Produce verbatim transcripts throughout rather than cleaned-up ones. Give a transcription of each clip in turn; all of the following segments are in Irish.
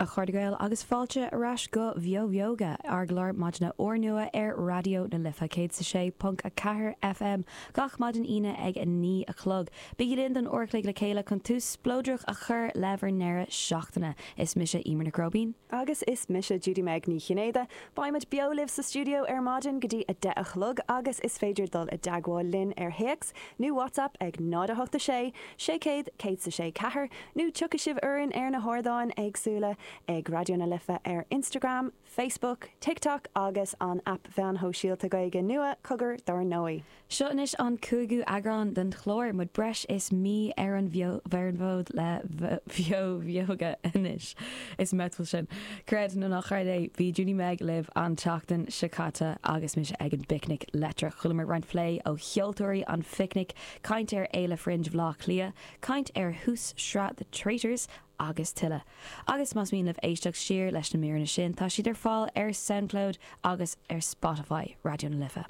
A chairde Gael agus fáilte ar ais go Bheo Bheoga, ár gclár maidine úrnua ar Raidió na Life céad is a sé ponc a ceathair FM gach maidin Aoine ag a naoi a chlog. Bígí linn don uair a chloig le chéile chun tús spleodrach a chur le bhur ndeireadh seachtaine. Is mise Emer Nic Róibín. Agus is mise Judy Meg Ní Chinnéide, Beimid beo libh sa stiúideo ar maidin go dtí a deich a chlog agus is féidir dul i dteagmháil linn ar théacs nó WhatsApp ag náid a hocht a sé, sé céad, céad is a sé ceathair, nó tiocfaidh sibh orainn ar na hardáin éagsúla ag Raidió na Life ar Instagram, Facebook, TikTok agus an aip mheáin shóisialta Gaeilge nua Cogar dár ndóigh. Seo anois an cúigiú eagrán den chlár, muid breis is mí ar an ar an bhfód le Bheo Bheoga anois. Is metal sin. Creid nó ná creid é bhí Judy Meg libh an tseachtain seo caite agus mise ag an bPicnic Leictreach. Chualamar roinnt plé ó cheoltóirí an phicnic, caint ar Fhéile Fringe Bhaile Átha Cliath, caint ar thús sraith The Traitors, agus tuilleadh. Agus más mian libh éisteacht siar leis na míreanna sin, tá siad ar fáil ar SoundCloud agus ar Spotify Raidió na Life.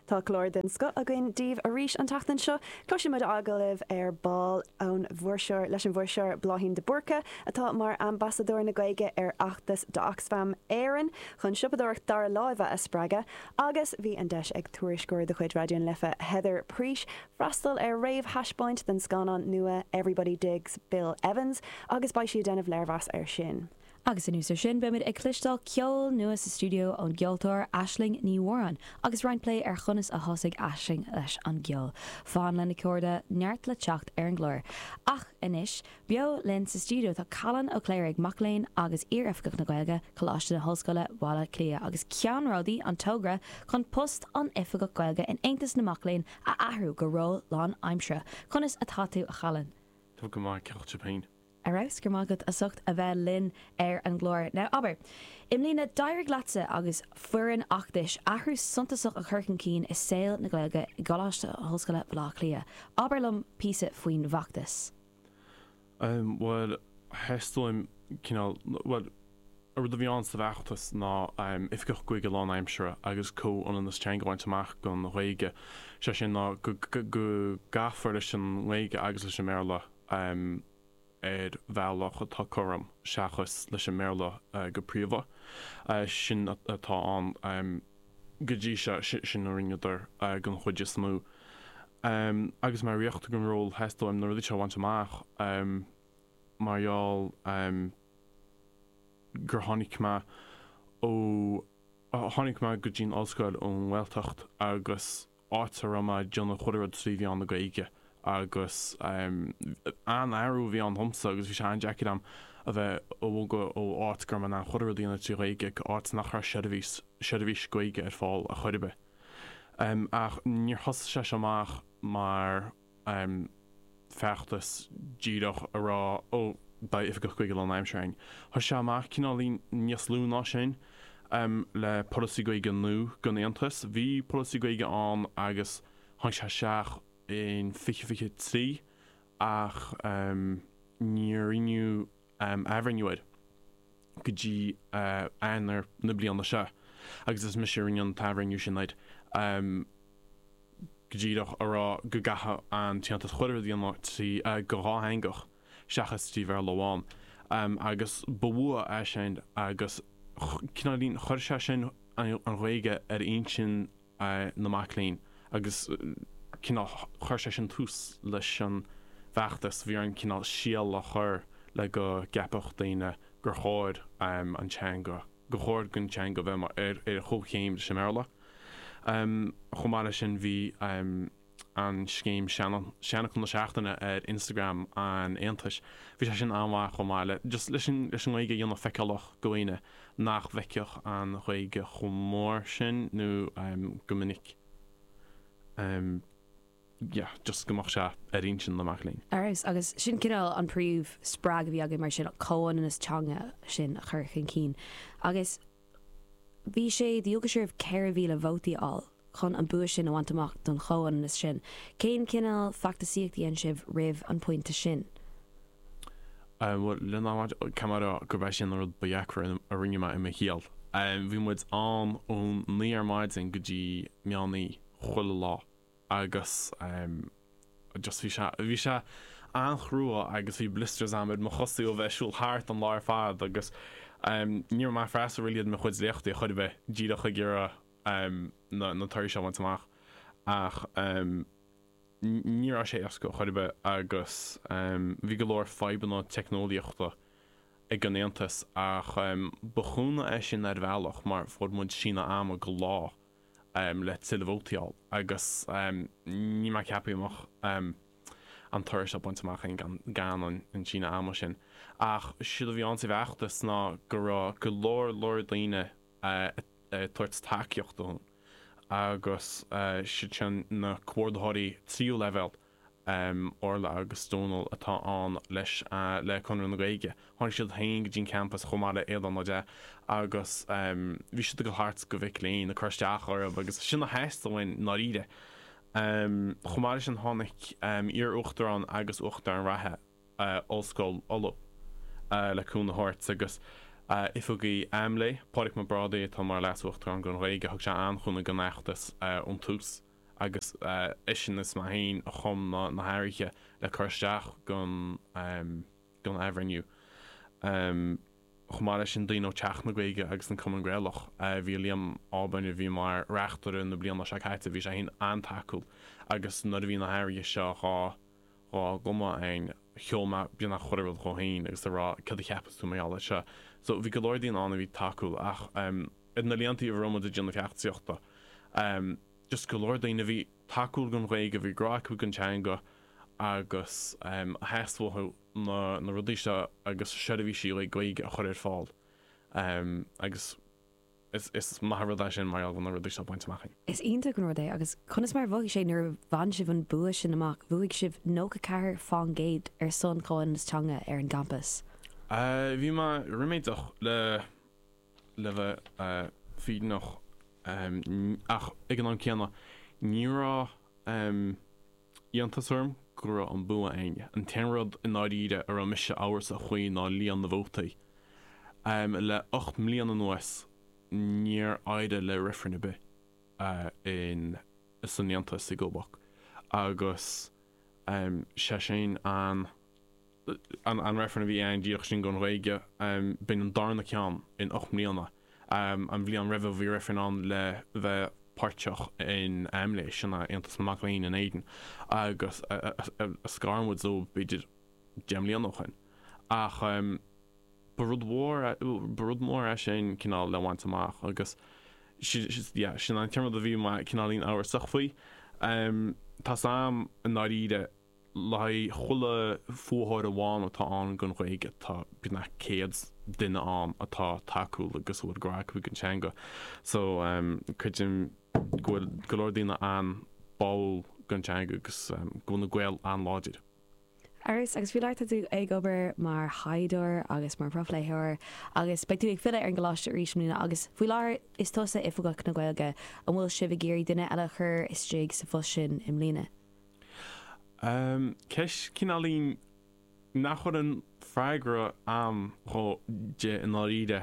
Tá clár den scoth againn daoibh arís an tseachtain seo, Cloisfimid agallamh ar ball ón bhfuirseoir leis an bhfuirseoir Bláithín de Búrca atá mar ambasadóir na Gaeilge ar fheachtas d'Oxfam Éireann chun siopadóireacht dara láimhe a spreagadh, agus bhí an deis ag tuairisceoir de chuid Raidió na Life Heather Preach freastal ar réamhthaispeáint den scannán nua Everybody Digs Bill Evans agus beidh sí ag déanamh léirmheas air sin. Agus anuas air sin beimid ag cloisteáil ceol nua sa stiúideo ón gceoltóir Aisling Ní Mhóráin, agus roinnt plé ar chonas a thosaigh Aisling leis an gceol. Fan linn a chairde neart le teacht ar an gclár. Ach anois, beo linn sa stiúideo tá Callan Ó Cléirigh mac léinn agus iar-oifigeach na Gaeilge, Coláiste na hOllscoile Bhaile Átha Cliath agus ceannródaí an togra chun post an Oifigeach Gaeilge in Aontas na Mac Léinn a athrú go ról lánaimseartha. Conas atá tú a Challan? Tá go maith ceart féin. Ar fheabhas go maith agat as ucht a bheith linn ar an gclár. Now abair, I mbliana d'éirigh leatsa agus foireann fheachtais athrú suntasach a chur chun cinn i saol na Gaeilge i gColáiste Ollscoile Bhaile Átha Cliath. Abair liom píosa faoin bhfeachtas. Um, well theastaigh cineál well rud a bhí ann sa bhfeachtas ná um, oifigeach Gaeilge lánaimseartha agus comhionannas teanga a bhaint amach don Ghaeilge. Sé sin ná go go gcaithfear leis an nGaeilge agus leis an mBéarla um, ar bhealach atá cothrom seachas leis an mBéarla uh, go príomha. Uh, sin atá an um, go dtí seo sin a rinneadar uh, den chuid is mó. Um, agus mar riocht gon ról theastaigh uaim na rudaí seo a bhaint amach um, mar gheall um, gur tháinig mé ó tháinig mé go dtí'n ollscoil ón nGaeltacht agus áit a raibh mé ag déanamh chuile rud trí mheán na Gaeilge agus um, an-athrú a bhí ann domsa agus bhí sé an-deacair dom a bheith ag bogadh ó áit go raibh mé in ann chuile rud a dhéanamh trí Ghaeilge go áit nach raibh seirbhís seirbhís Gaeilge ar fáil ar chor ar bith. Um, ach níor thosaigh sé seo amach mar um, feachtas díreach a rá ó beidh oifigeach Gaeilge lánaimseartha againn. Thosaigh sé amach cineál níos lú ná sin um, le polasaí Gaeilge nua don Aontas. Bhí polasaí Gaeilge ann agus tháinig sé isteach in fiche fiche trí ach um, níor rinneadh um, athbhreithniú air go dtí uh, Eanáir na bliana seo. Agus is mise a rinne an t-athbhreithniú sin air. Um, go díreach a rá go gcaithfidh an tAontas chuile rud a dhéanamh trí uh, go dhátheangach seachas trí Bhéarla amháin. Um, agus ba bhua é sin agus cineál chuir sé sin an Ghaeilge ar intinn uh, na mac léinn agus cineál chuir sé sin tús leis an bhfeachtas bhí an cineál síol a chur le go gceapfadh daoine gur chóir um, an teanga go chóir don teanga bheith ar ar chomhchéim leis an mBéarla. Um, chomh maith leis sin bhí um, an scéim seanfhocal na seachtaine ar Instagram an Aontais. Bhí sé sin an-mhaith chomh maith le just leis an leis an Ghaeilge a dhéanamh feiceálach do dhaoine nach bhfeicfeadh an Ghaeilge chomh mór sin nó um, go minic. Um, yeah, just go mbeadh sé ar intinn na mac léinn. Aris agus sin cineál an príomhspreagadh a bhí againn mar sin comhionannas teanga sin a chur chun cinn. Agus bhí sé dualgas oraibh ceithre mhíle vótaí a fháil chun an bua sin a bhaint amach don chomhionannas sin. Cén cineál feachtasaíocht a dhein sibh roimh an pointe sin? Um, lena camara go bheith sin an rud ba dheacra a rinne mé i mo shaol. Um, bhí muid ann ón naoi ar maidin go dtí meán oíche chuile lá agus um, just bhí sé bhí sé an-chrua agus bhí blisters agam ar mo chosa ó bheith ag siúl thart an lá ar fad agus ní raibh mé ag freastal really ar mo chuid léachtaí chor ar bith díreach ag iarraidh na na torthaí seo a bhaint amach ach ní raibh sé éasca chor ar bith agus bhí go leor fadhbanna teicneolaíochta ag an Aontas ach ba chúnamh é sin ar bhealach mar fuair muid síneadh ama go lá le tuilleadh vótaí a fháil agus níl mé ag ceapadh go mbeadh an toradh seo bainte amach againn gan an síneadh ama sin. Ach séard a bhí ann sa bhfeachtas ná go raibh go leor leor daoine ag tabhairt tacaíocht dúinn agus siad sin na comhordaitheoirí tríú leibhéal Orla agus Dónal atá ann leis le Conradh na Gaeilge. Tháinig siad féin go dtí an campas chomh maith le Aodán Ó Dea agus bhí siad ag dul thart go mhic léinn ag cur isteach orthu agus sin a theastaigh uainn i ndáiríre. Chomh maith leis sin tháinig iar-uachtarán agus uachtarán reatha Ollscoil Uladh le cúnamh a thabhairt agus oifigigh AMLÉ, Pádraig Mac Brádaigh atá mar Leas-Uachtarán don Ghaeilge, thug sé an-chúnamh don fheachtas ón tús. agus eisean is mé féin a chum na hathruithe le cur isteach don don athbhreithniú. Chomh maith leis sin, daoine ó Teach na Gaeilge agus an Cumann Gaelach, bhí Liam Auburn a bhí mar reachtaire na bliana seo caite, bhí sé féin an-tacúil agus nuair a bhí na hathruithe seo dhá dhá gcumadh againn, sheol mé beagnach chuile rud dhó féin agus a rá cad a cheapas tú mar gheall air seo. So bhí go leor daoine ann a bhí tacúil ach ar na blianta a raibh muid ag déanamh feachtasaíochta, just go leor daoine a bhí tacúil don Ghaeilge, bhí grá acu don teanga agus a theastaigh uathu na na rudaí seo agus seirbhísí le Gaeilge a chur ar fáil agus is is maith an rud é sin mar gheall go bhfuil na rudaí seo bainte amach againn. Is iontach an rud é agus conas mar a mhothaigh sé nuair a bhain sibh an bua sin amach? Bhuaigh sibh nócha ceathair fán gcéad ar son comhionannas teanga ar an gcampas. Bhí mé ríméadach le le bheith fírinneach ach ag an am céanna ní raibh iontas orm go raibh an bua againn. An t-aon rud i ndáiríre a raibh mise amhrasach faoi ná líon na vótaí. Le ocht mbliana anuas níor éirigh le reifreann ar bith in san Aontas i Gcóbac agus sé sin an an reifreann a bhí ann díreach sin don Ghaeilge, b'in an darna ceann in ocht mbliana. An bhliain roimhe bhí reifreann ann le bheith páirteach in AMLÉ, sin é Aontas na Mac Léinn in Éirinn, agus a scar muid ó b'fhéidir deich mbliana ó shin. Ach ba rud mhór ba rud mór é sin cineál le bhaint amach agus yeah, sin an t-aon rud a bhí mé cineáilín amhrasach faoi. Tá's a'm i ndáiríre Le haghaidh chuile fuathóir amháin atá ann don Ghaeilge, tá beagnach céad duine ann atá tacúil agus a bhfuil grá acu don teanga. So, creidim go bhfuil go leor daoine an-báúil don teanga agus go bhfuil na Gaeil an-láidir. Aris, agus faoi láthair tá tú ag obair mar thaighdeoir agus mar phrofléitheoir agus beidh tú ag filleadh ar an gcoláiste arís i mbliana agus faoi láthair is tusa Oifigeach na Gaeilge. An bhfuil sibh ag iarraidh duine eile a chur istigh sa phost sin i mbliana? Ceist cineáilín nach bhfuil an freagra a'm dhó di i ndáiríre.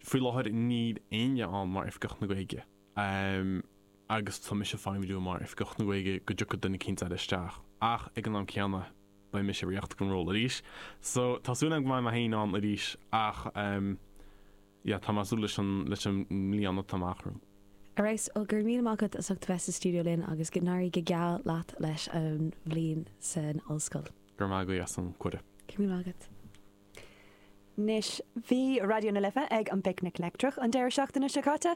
Faoi láthair níl éinne ann mar Oifigeach na Gaeilge agus tá mise ag feidhmiú mar Oifigeach na Gaeilge go dtiocfaidh duine eicínt eile isteach ach ag an am céanna beidh mise riachtanach don ról arís. So tá súil agam go mbeidh mé féin ann arís ach yeah tá mé ag súil leis an leis an mbliain atá amach romhainn. Ar fheabhas, bhuel, go raibh míle maith agat as ucht a bheith sa stiúideo linn agus go n-éirí go geal leat leis an bhliain san ollscoil. Go raibh maith agat as an cuireadh. Go raibh míle maith agat. Anois, bhí Raidió na Life ag an bPicnic Leictreach an deireadh seachtaine seo caite,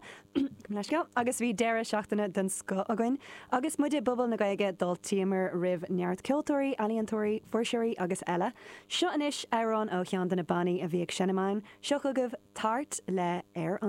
leithscéal, agus bhí deireadh seachtaine den scoth againn. Agus muid i bPuball na Gaeilge, d'fháiltíomar roimh neart ceoltóirí, ealaíontóirí, fuirseoirí agus eile. Seo anois amhrán ó cheann de na bannaí a bhí ag seinm ann. Seo chugaibh Tart le Ar an.